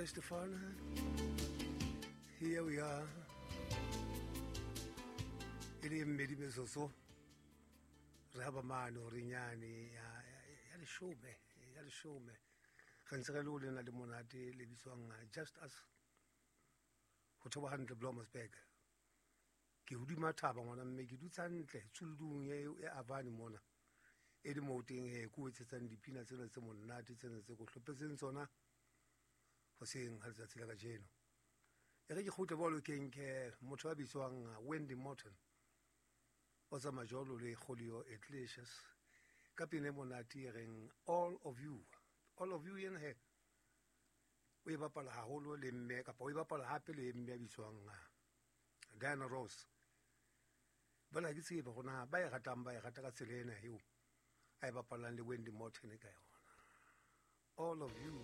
Estefan. Here we are. E le mmedi metsotso re haba mane gore nyane ya leshome ya leshome re ntse re le o lena le monate le bitswang Just Us ho thoba hantle Blomersburg. Ke hodima thaba ngwana mme ke dutse hantle tsuldung e Avani mona e le moo teng he ko etsetsang dipina tsena tse monate tsena tse ko hlopetseng tsona hoseng ha letsatsi la kajeno. E re ke kgutle bolo ke nke motho a bitswang Wendy Morton o tsamaya jwalo le Julio Iglesias ka pina e monate e reng All of You. All of You yena he o e bapala haholo le mme kapa o e bapala hape le mme a bitswang Diana Ross. Jwale ha ke tsebe hore na ba e ratang ba e rata ka tsela ena eo a e bapalang le Wendy Morton ka yona. All of You.